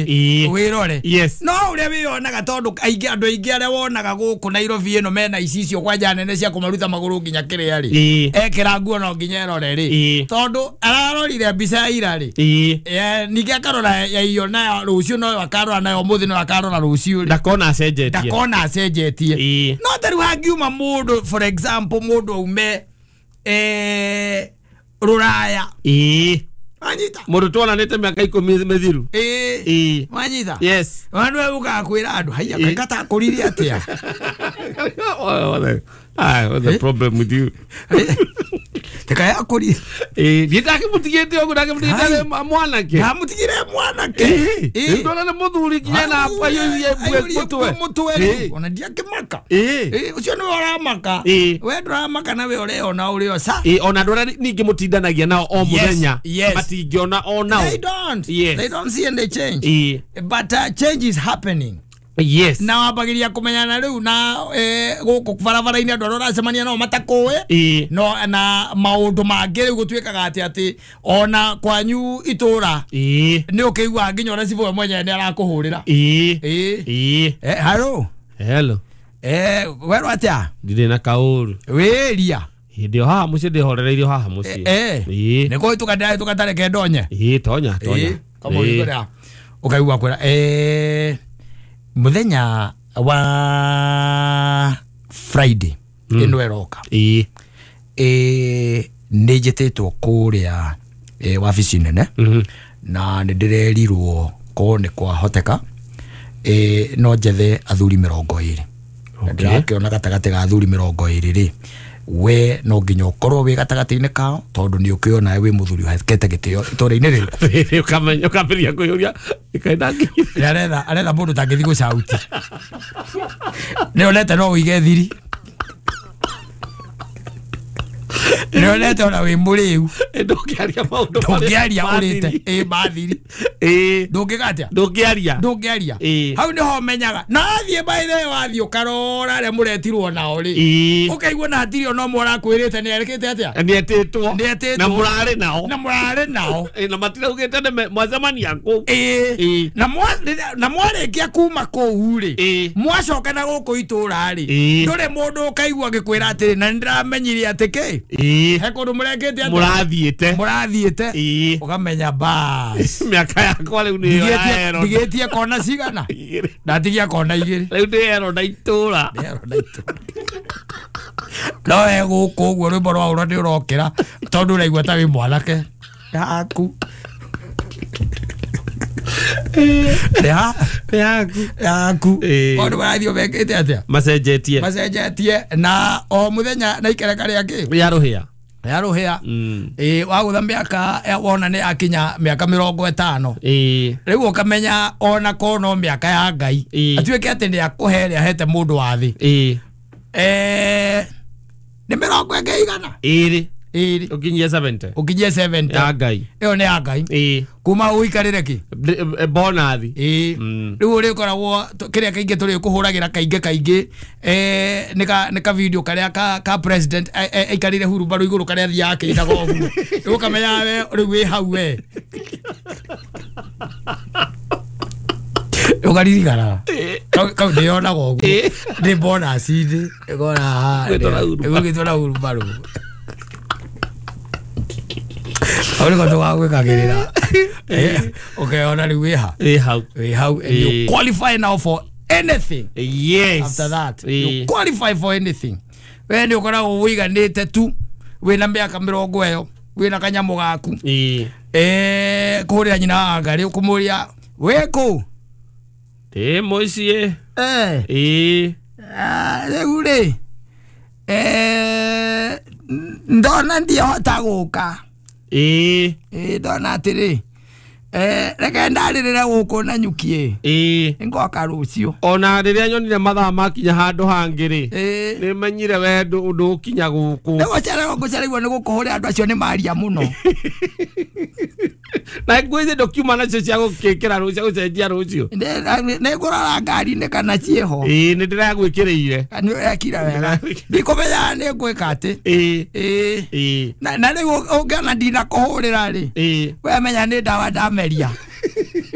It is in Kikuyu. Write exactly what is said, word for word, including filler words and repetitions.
Wĩrore. Yes. No ũrĩa wĩyonaga tondũ aingĩ andũ aingĩ arĩa wonaga gũkũ Nairobi ĩno mena icicio kwanja nene cia kũmaruta magũrũ nginya kĩrĩa rĩ. Ĩĩ. Ekĩra nguo no nginya erore rĩ. Ĩĩ. Tondũ ararorire mbica ya ira rĩ. Ĩĩ. Eh, ningĩ akarora ya iyo nayo rũciũ noyo akarora nayo ũmũthĩ noyo akarora rũciũ rĩ. Ndakona acenjetie. Ndakona acenjetie. Ĩĩ. No ta rĩu hangiuma mũndũ for example mũndũ aume eh, rũraya. Ĩĩ. Wanyita? Mũndũ tuonanĩte mĩaka ikũmi mĩthiru. Ĩĩ. Ĩĩ. Wanyita? Yes. Wandu ũkaga kwĩra andũ haiya Ĩĩ. katakũrire atĩa. What the, ah, what's the problem with you? Tekayakũrire. Ĩĩ, niĩ ndakĩmũtigĩte ũguo ndakĩmũtigĩte Hai. arĩ mwanake. Ndamũtigire mwanake. Ĩĩ. Ĩĩ. Rĩu ndona nĩ mũthuri nginya na aiyũirie mbwe Aiyũrie mũtwe. mũtwe Ĩĩ. rĩu. Ona ndiakĩmaka. Ĩĩ. Ĩĩ, ũcio nĩwe ũramaka. Ĩĩ. We ndũramaka na we ũreona ũrĩ o sa. Ĩĩ, ona andũ arĩa ningĩ mũtindanagia nao o Yes, mũthenya yes. matingĩona o nao. They don't. Yes. They don't see any change. Ĩĩ. But uh, change is happening. Yes. Na wambagĩria kũmenyana rĩu na eh, gũkũ barabara-inĩ andũ arĩa ũracemania nao matakũĩ. Ĩĩ. No na maũndũ mangĩ rĩu gũtuĩkaga atĩ atĩ ona kwanyu itũra Ĩĩ. nĩ ũkĩiguaga nginya ũrĩa cibũ we mwenyewe nĩ arakũhũrĩra. Ĩĩ. Ĩĩ. Ĩĩ. Eh, haro. Hello. Eh, werwo atĩa? Ndirĩ na kaũru. Wĩria. Hĩndĩ ĩyo haha mũciĩ ndĩhorereirio haha mũciĩ. Eh. Ĩĩ. Nĩ kũhĩtũka ndĩrahĩtũka tareke ndonye. Ĩĩ, tonya, tonya. Ĩĩ, kama ũrĩa ũkaigua kwĩra eh mũthenya wa Friday ĩno ĩroka. Ĩĩ. Eh, nĩ njĩtĩtwo kũrĩa eh, wabici nene Mhm. na nĩ ndĩrerirwo korwo nĩ kwahoteka eh, no njethe athuri mĩrongo ĩrĩ. Na Okay. ndĩrakĩona gatagatĩ ga athuri mĩrongo ĩrĩ rĩ we no nginya ũkorwo wĩ gatagatĩ-inĩ kao tondũ nĩ ũkĩona wĩ mũthuri ũhekete gĩtĩo itũũra-inĩ rĩrĩkũ. Rĩrĩ ũkamenya ũkambĩrĩria kwĩyũria ĩkaĩ ndangĩkinyire. Nĩ aretha aretha mũndũ ũtangĩthiĩ gũcauti. Nĩ onete no ũige thiri. Nĩ onete ona wĩ mũrĩu. Ĩ, ndũngĩaria maũndũ marĩa Ndũngĩaria ũrĩte. mathiri. Ĩ mathiri. Ĩĩ. Ndũngĩka atĩa? Ndũngĩaria. Ndũngĩaria. Ĩĩ. Hau nĩho menyaga. Na athiĩ by the way wathiĩ ũkarora arĩa mũretirwo nao rĩ. Ĩĩ. Ũkaigua na hatirĩ ona ũmwe ũrakwĩrĩte nĩ erekĩte atĩa? Nĩetĩtwo. Nĩetĩtwo. Na mũrarĩ nao. Na mũrarĩ nao. Ĩ, na matiraugĩte nĩ me- mwacemania kũu. Ĩĩ. Ĩĩ. Na mwa- rĩrĩa- na mwarĩkia kuma kũu rĩ. Ĩĩ. Mwacoka na gũkũ itũra rĩ. Ĩĩ. Ndũrĩ mũndũ ũkaigua agĩkwĩra atĩrĩ na nĩndĩramenyire atĩ kĩ. Ĩĩ. He kũndũ mũrekĩte atĩa? Mũrathiĩte. Mũrathiĩte. Ĩĩ. Ũkamenya bas. Mĩaka yakwa rĩu nĩyo Ndigĩtie yaero. ndigĩtie kona cigana? Igĩrĩ. Ndatigia kona igĩrĩ. Rĩu ndĩero na itũra. Ndĩero na itũra. No we gũkũ ũguo rwĩmbo rwa ũrĩa nĩ ũrokĩra tondũ ũraigua ta wĩ mwanake. Yaku. Ya. Yaku. Yaku. Ĩĩ. Maũndũ marathiĩ mekĩte atĩa? Macenjetie. Macenjetie na o mũthenya na ikereka rĩa kĩ? Rĩa rũhĩa. Rĩa rũhĩa. Mm. Ĩĩ, wagũtha mĩaka eh, wona nĩ akinya mĩaka mĩrongo ĩtano. Ĩĩ. Rĩu ũkamenya ona korwo no mĩaka ya Ngai. Ĩĩ. Atuĩke atĩ nĩ akũhe ĩrĩa ahete mũndũ wa thĩ. Ĩĩ. Eh, nĩ mĩrongo ĩngĩ igana? Ĩrĩ. Ĩrĩ. Ũkinyie seventy. Ũkinyie seventy. Ya Ngai. Ĩyo nĩ ya Ngai. Ĩĩ. Kuma ũikarĩre kĩ? Ndĩ- eh, bonathi. Ĩĩ. Mm. Rĩu ũrĩkoragwo tũ- kĩrĩa kaingĩ tũrĩkũhũragĩra kaingĩ kaingĩ eh, nĩ ka nĩ ka video karĩa ka ka president eh, eh, aikarĩire hurumbarũ igũrũ karĩa athiaga akĩinaga ũguo. Rĩu ũkamenya we rĩu wĩ hau we. Ũkaririkana. Kau kau ndĩyonaga ũguo. Ĩĩ. Ndĩ bonus-inĩ. Ũkona haha. Gwĩtwo na hurumbarũ. Gwĩtwo na hurumbarũ. Hau nĩko tũgagwĩkagĩrĩra. Eh, ũkeyona rĩu wĩ ha? Ĩ hau. Wĩ hau and you Ĩĩ. qualify now for anything. Yes. After that, Ĩĩ. you qualify for anything. We nĩ ũkoragwo ũiganĩte tu wĩna mĩaka mĩrongo ĩyo wĩna kanyamũ gaku. Ĩĩ. Eh, kũhũrĩra nyina wa Ngarĩ ũkũmũria wĩ kũ? Ndĩ mũciĩ. Eh. Ĩĩ. Ah, rĩu rĩ eh, ndona ndiahota gũka. Ĩĩ. Ĩĩ, ndona atĩrĩ eh, reke ndarĩrĩre gũkũ na nyuki Ĩĩ. ngoka rũciũ. Ona rĩrĩa nyonire mathaa makinya handũ hangĩ rĩ Ĩĩ. nĩ menyire we ndũ- ndũkinya gũkũ. Nĩ gũcererwo ngũcereirwo nĩ gũkũhũrĩra andũ acio nĩ maria mũno. Na nguo ici ndũkiuma nacio cia gũkĩkĩra rũciũ cia gũcenjia rũciũ. Nĩ- nĩ ngũrora ngari-inĩ kana ciĩho. Ĩĩ, nĩ ndĩragwĩkĩrĩire. Nĩ ũrekire wega. Ndikũmenyaga nĩ ngwĩka atĩ. Ĩĩ. Ĩĩ. Ĩĩ. Na na rĩu ũngĩona ndinakũhũrĩra rĩ Ĩĩ. we menya nĩ ndawa ndameria.